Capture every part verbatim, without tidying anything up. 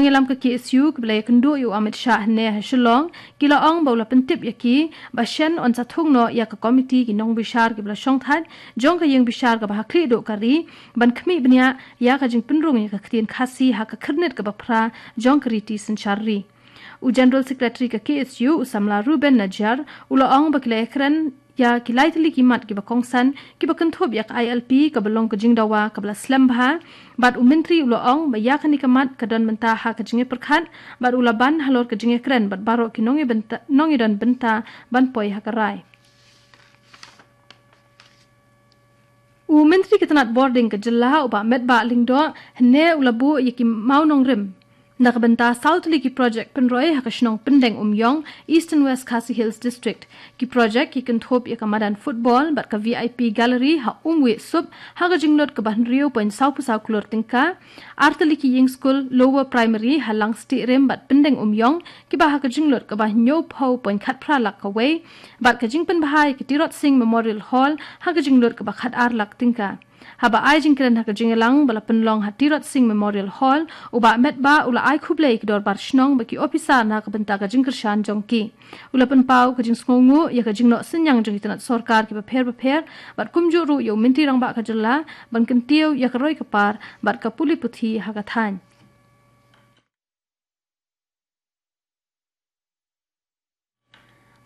Nongïalam ka K S U kiba la ïakynduh ïa u Amit Shah hynne ha Shillong, ki la ong ba u la pyntip ïa ki ba shen yn sa thung noh ïa ka komiti ki nongbishar kiba la shongthait jong ka ïing bishar kaba ha khlieh duh ka ri ban khmih bniah ïa ka jingpynrung ïa ka ktien Khasi ha ka khyrnit kaba phra jong ka riti synshar ri. U General Secretary ka K S U, u samla Reuben Najiar, u la ong ba ki la ïakren ïa ki lai tylli ki mat kiba kongsan kiba kynthup ïa ka I L P kaba long ka jingdawa kaba la slem bha, bad u Myntri u la ong ba ïa kane ka mat ka don mynta ha ka jingïapyrkhat, bad u la ban halor ka jingïakren bad baroh ki nongïabynta, nongïadon bynta ban poi ha ka rai. U Myntri ka tnat bording ka jylla, u Bah Metbah Lyngdoh, hynne u la buh ïa ki mawnongrim na ka bynta saw tylli ki projek pynroi ha ka shnong Pyndeng Umïong, Eastern West Khasi Hills District. Ki projek ki kynthup ïa ka madan football bad ka V I P gallery ha Umwiehsup ha ka jinglut kaba hynriew point saw phew saw klur tyngka, ar tylli ki ïing skul lower primary ha Langstiehrim bad Pyndeng Umïong kiba ha ka jinglut kaba hynñiew phew point khatphra lak kawei, bad ka jingpynbha ïa ka Tirot Sing Memorial Hall ha ka jinglut kaba khatar lak tyngka. Haba ai jingkren ha ka jingïalang ba la pynlong ha Tirot Sing Memorial Hall, u Bah Metbah u la ai khublei ïa ki dorbar shnong bad ki ophisar na ka bynta ka jingkyrshan jong ki. U la pynpaw ka jingsngewnguh ïa ka jingnoh synñiang jong ki tnat sorkar kiba pher bapher, bad kumjuh ruh ïa u Myntri Rangbah ka jylla ban kyntiew ïa ka roi ka par bad ka pule puthi ha ka thaiñ.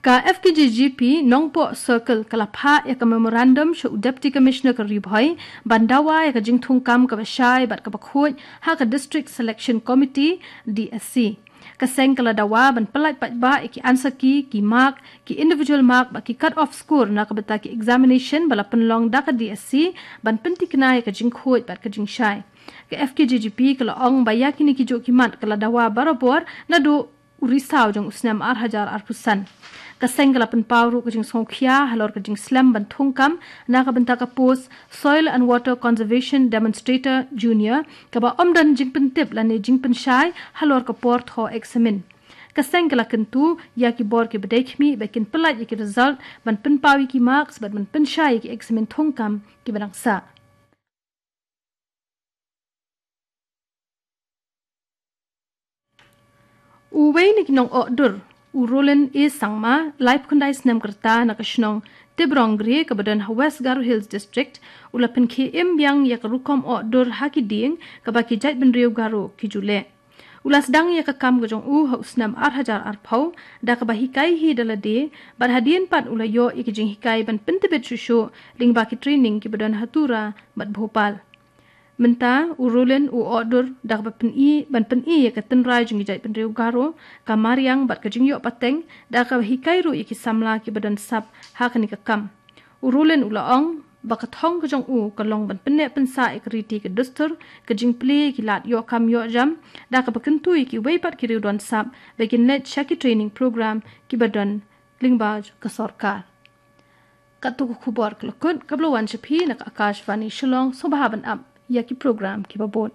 Ka F K J G P Nongpoh Circle ka la phah ïa ka memorandum sha u Deputy Commissioner ka Ri Bhoi ban dawa ïa ka jingthungkam kaba shai bad kaba khuid ha ka District Selection Committee, D S C. Ka seng ka la dawa ban pyllait paidbah ïa ki answer key, ki mark, ki individual mark bad ki cut off score na ka bynta ki examination ba la pynlong da ka D S C ban pynthikna ïa ka jingkhuid bad ka jingshai. Ka F K J G P ka la ong ba ïa kine ki juh ki mat ka la dawa barabor naduh u Risaw jong u snem ar hajar arphew san. Ka seng ka la pynpaw ruh ka jingsngewkhia halor ka jingslem ban thungkam na ka bynta ka post Soil and Water Conservation Demonstrator Junior, kaba ym don jingpyntip lane jingpynshai halor ka por thoh eksamin. Ka seng ka la kyntu ïa ki bor kiba dei khmih ba kin pyllait ïa ki result ban pynpaw ïa ki marks bad ban pynshai ïa ki eksamin thungkam kiba dang sah. Uwei na ki nong-ohdur, u Roland A Sangma, laiphew khyndai snem ka rta, na ka shnong Tibrong Gre kaba don ha West Garo Hills District, u la pynkhie im biang ïa ka rukom ohdur ha ki dieng kaba ki jaitbynriew Garo ki ju leh. U la sdang ïa ka kam ka jong u ha u snem ar hajar arphew, da kaba hikai hi da lade, bad hadien pat u la ïoh ïa ki jinghikai ban pyntbit shuh shuh lyngba ki training kiba don ha Tura bad Bhopal. Mynta u Roland u ohdur da kaba pyni, ban pyni ïa ka tynrai jong ki jaitbynriew Garo, ka mariang bad ka jingïoh pateng, da kaba hikai ruh ïa ki samla kiba don sap ha kane ka kam. U Roland u la ong ba ka thong ka jong u ka long ban pynneh pynsah ïa ka riti ka dustur, ka jingplie ïa ki lad ïoh kam ïoh jam, da kaba kyntu ïa kiwei pat ki riew don sap ba kin leit sha ki training program kiba don lyngba ka sorkar. Katto ka khubor ka la kut, kaba la wan sha phi na ka Akashvani Shillong. Sngewbha ban ap ïa ki program kiba bud.